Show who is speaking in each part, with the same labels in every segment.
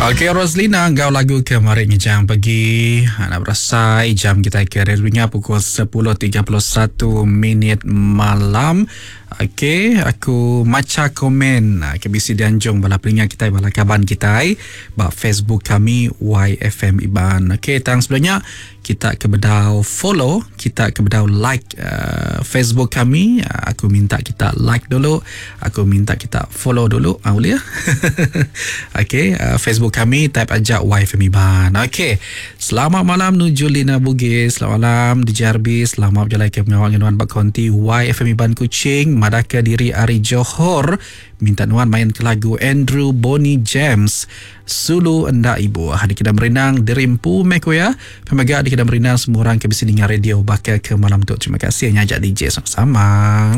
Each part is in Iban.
Speaker 1: Okey Roslina enggau lagu ke mari ngejang pagi anak berasai jam kita ke radio pukul 10.31 minit malam. Okey aku macha komen ah, ke bisi dianjung bala peninga kitai bala kaban kitai ba Facebook kami YFM Iban. Okey tang sebelum nya Kita ke bedau follow, kita ke bedau like uh, Facebook kami, uh, aku minta kita like dulu, aku minta kita follow dulu, ah boleh ya? Okey, uh, Facebook kami type aja YFM Iban. Okey. Selamat malam nuju Lina Bugis, selamat malam DJ RB, selamat berjalai ke pengawal nuan ba konti YFM Iban Kuching, madahka diri ari Johor. Minta nuan main ke lagu Andrew Bonnie James Sulu Enda Ibuh. Dikena merindang diri empu meh ku iya. Pia mega dikena merindang semua orang ke bisi ninga radio baka ke malam tu. Terima kasih ngaja DJ sama-sama.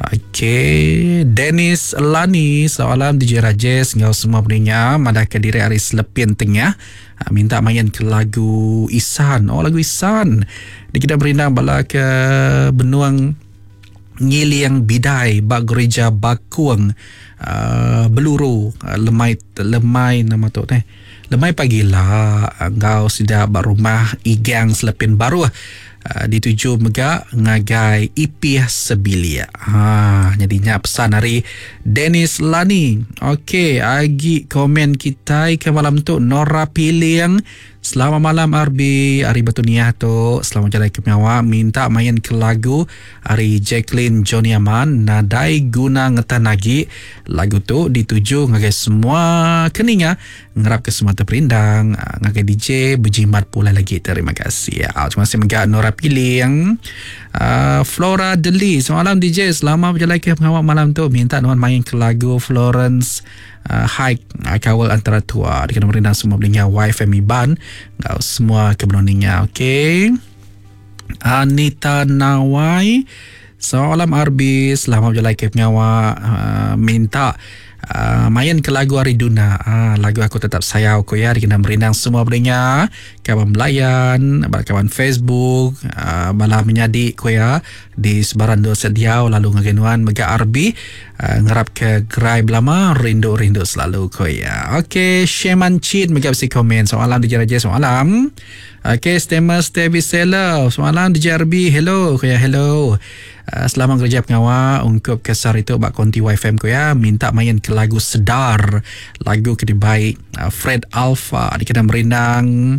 Speaker 1: Okey, Dennis Lani, selamat malam DJ Rajesh enggau semua peninga madahka diri ari Selepin Tengah. Ha, minta main ke lagu Isan. Oh, lagu Isan. Dikena merindang bala ke benuang Ngiling Bidai ba Gereja Bakung uh, Beluru uh, lemai lemai nama tu neh lemai pagila enggau sida ba rumah Igang Selepin Baruh uh, dituju mega ngagai Ipih Sebilik. Ha nyadi nya pesan ari Dennis Lani. Okey, agi komen kitai ke malam tu Nora Piling Selamat malam RB ari Batu Niah tu. Selamat jalai ke pengawa minta main ke lagu ari Jacqueline Johnny Aman nadai guna ngetan agi. Lagu tu dituju ngagai semua ke ninga ngerap ke semua terperindang ah, ngagai DJ bejimat pulai lagi. Terima kasih. Ah, terima kasih mega Nora Piling. Uh, Flora Deli. Selamat malam DJ. Selamat berjalai ke pengawa malam tu. Minta nuan main ke lagu Florence uh, hike uh, kawal antara tua dikena merindang semua belinga YFM Iban enggau semua ke benung ninga okey Anita Nawai Selamat malam RB Selamat berjalai ke pengawa uh, Minta uh, Main ke lagu Ari Duna uh, Lagu Aku Tetap Sayau Ku ya Dikena merindang semua belinga Kawan belayan Bala kawan Facebook uh, Bala menyadi ku ya Di sebaran endur sediau lalu ngagai nuan mega RB uh, ngerap ke gerai belama rindu-rindu selalu ko iya. Okey, Sheman Chin mega bisi komen soalan DJ Raja soalan. Okey, Stemer Stevie Seller soalan DJ RB hello ko iya hello. Uh, selamat kerja pengawa ungkup ke sehari tu ba konti YFM ko iya minta main ke lagu Sedar lagu ke dibai uh, Fred Alpha dikena merindang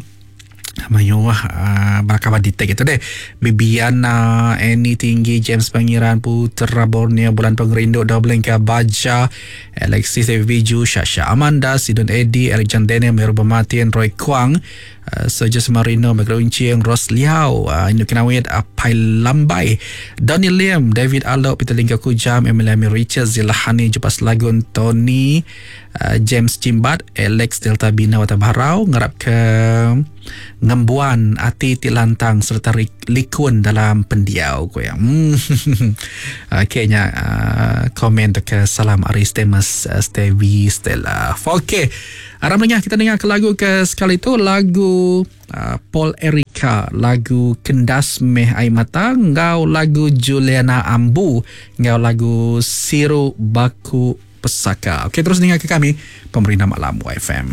Speaker 1: Mayuh uh, bala kaban di tag itu deh. Bibiana, Annie Tinggi, James Pangeran, Putera Borneo, Bulan Pengerindu, Doblenka Baja, Alexis David Biju, Shasha Amanda, Sidon Eddie, Eric John Daniel, Meru Bematian, Roy Kuang, uh, Sergio Marino, Megro Uncing, Ros Liao, uh, Indu Kenawit, Apai Lambai, Donny Lim, David Alok, Peter Lingga Kujam, Emily Amir Richard, Zilahani, Jepas Lagun, Tony, uh, James Jimbat, Alex Delta Bina Wata Barau ngarap ke ngembuan ati ti lantang sereta likun dalam pendiau ku iya. Hmm. Okey nya uh, komen tu ke salam ari Stemus uh, Stevie Stella. Okey. Aram dengar kita dengar ke lagu ke sekali tu lagu uh, Paul Erika, lagu Kendas Meh Ai Mata enggau lagu Juliana Ambu enggau lagu Siru Baku Pesaka. Okey terus ninga ke kami Pemerintah Malam YFM.